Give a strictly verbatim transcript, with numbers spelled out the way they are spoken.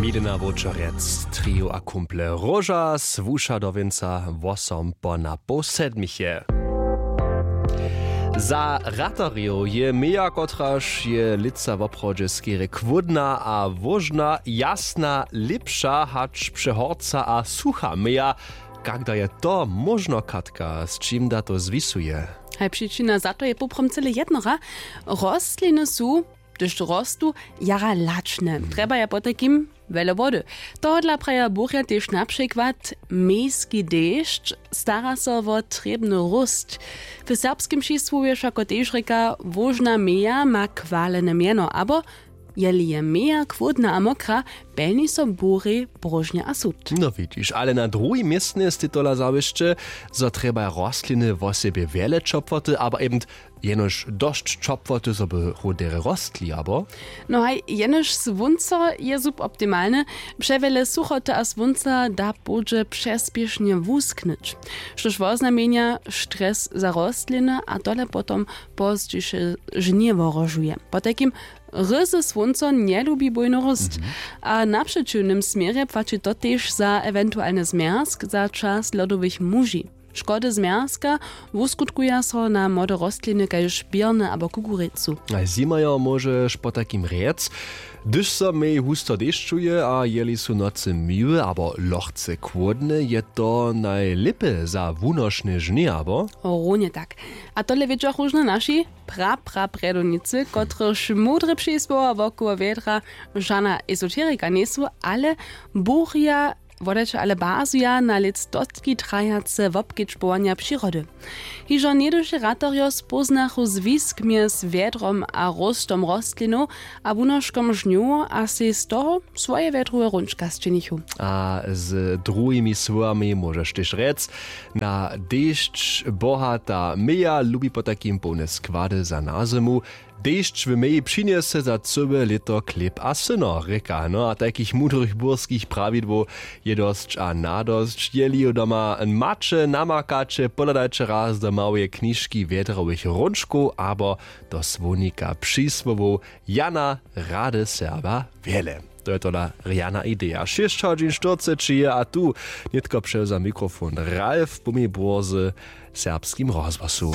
Milena Wočerjec, trio a kumple róža, słuša do wěnca wosom po na poł sedmich je. Za ratarjow je meja, kotraž je lětsa woprawdźe skerje chłódna a wóžna, jasna, lěpša hač přehorca a sucha meja. Kak da je to móžno, Katka, z čim da to zwisuje? Haj, přičina za to je poprawom cyle jednora. Rostliny su, hdyž rostu, jara lačne, trjebaja potajkim wjele wody. Tohodla praja burja tež na přikład mejski dešć, stara so wo trěbny róst. W serbskim čisłowje wšako tež rěka wóžna meja ma chwalene mjeno, abo jeli je meja chłódna a mokra, pjelni so burej bróžnje a sud. No widźiš, ale na druhim městnje stej tola zawěsće, zo trjebaja rostliny wosebje wjele ćopłoty, abo eben jenož dosć ćopłoty, zo by hoł derje rostli, abo? No haj, jenož słónco je suboptimalne. Přewjele suchoty a słónca da połdźe přespěšnje wusknyć, štož woznamjenja stres za rostliny a tole potom pozdźiše žnje wohrožuje. Potajkim ryzy słónco njelubi bójny róst. A na přećiwnym směrje płaći to tež za ewentualny zmjerzk za čas lodowych muži. Škody zmjerzka wuskutkuja so na młode rostliny kaž běrny abo kukurjecu. A zimajo móžeš potajkim rjec, hdyž so mej husto dešćuje a jeli su nocy miłe abo lochce chłódne, je to najlěpje za wunošne žnje, abo? Runje tak. A tole wědźa róžno naši pra pra prjedownicy, kotrychž mudre přisłowa wokoło wjedra žana esoterika njejsu, ale burja wodajće ale bazuja na lětstotki trajace wobkedźbowanja přirody. Hižo něhdyši ratarjo spóznachu zwisk mjez wjedrom a róstom rostlinow a wunoškom žnjow a sej z toho swoje wjedrowe hrónčka sčinichu. A z druhimi słowami móžeš tež rjec, na dešć bohata meja lubi potajkim połne składy za nazymu. Dešć w meji přinjese za cyłe lěto chlěb a syno, rěka. No a tajkich mudrych burskich prawidłow je dosć a nadosć. Jeli ju doma maće, namakaće, pohladajće raz do małeje knižki wjedrowych hrónčkow abo do słownika přisłowow Jana Rady Serba wjele. To je tola rjana ideja. Šěsć hodźin štyrceći je a tu nětko přewza mikrofon Ralf Bumibor z Serbskim rozhłosu.